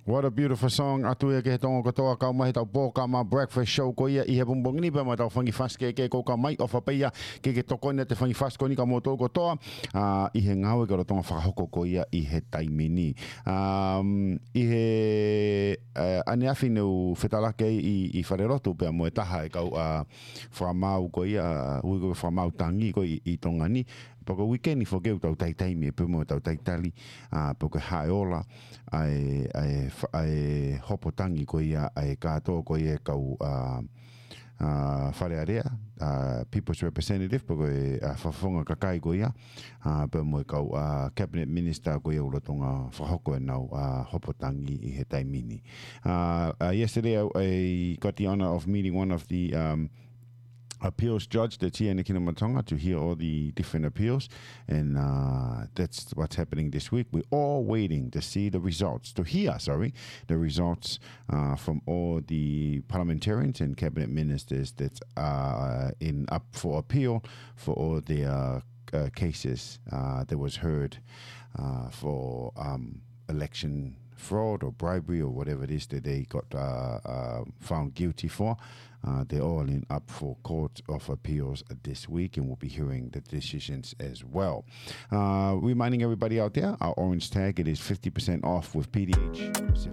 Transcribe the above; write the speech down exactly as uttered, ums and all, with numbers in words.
What a beautiful song. ʻAtu ia ki he Tonga kotoa, kau mai he ʻetau polokalama Breakfast Show ko ia ʻi he pongipongi ni pea mo ʻetau fanga kiʻi fasi kehekehe ʻoku kau mai, ʻofa pē ia ke ke tokoni atu he fanga kiʻi fasi ko eni kia moutolu kotoa, ʻa, ʻi he ngāue ʻa e lolotonga fakahoko ko ia ʻi he taimi ni. Um, ʻi he, ʻa, ʻaneafi ne u fetalaki ai ʻi, ʻi Falelotu pea mo e taha e kau, ʻa, fakamaau ko ia, ʻa, ui ko e fakamaau tangi ko ē ʻi, ʻi Tonga ni. Pea ko e uike ni foki ʻoku tau taitaimi pē mo ʻetau talitali, ʻa, pe ko e hā e ola ʻa e, ʻa e fa-, ʻa e hopo tangi ko ia ʻa e kātoa ko ia e kau, ʻa, ʻa, Fale Alea, ʻa, People's Representative, pe ko e, ʻa, fakafofonga kakai ko ia, ʻa, pea mo e kau, ʻa, Cabinet Minister ko ia ʻoku lolotonga fakahoko ʻenau, ʻa, hopo tangi ʻi he taimi ni. Uh, uh, yesterday, I, I got the honor of meeting one of the, um, appeals judge that's here in the Kingdom of Tonga to hear all the different appeals. And, uh, that's what's happening this week. We're all waiting to see the results, to hear, sorry, the results, uh, from all the parliamentarians and cabinet ministers that are in up for appeal for all their, uh, cases, uh, that was heard, uh, for, um, election fraud or bribery or whatever it is that they got, uh, uh, found guilty for. Uh, they're all in up for Court of Appeals this week, and we'll be hearing the decisions as well. Uh, reminding everybody out there, our orange tag, it is fifty percent off with P D H. It's a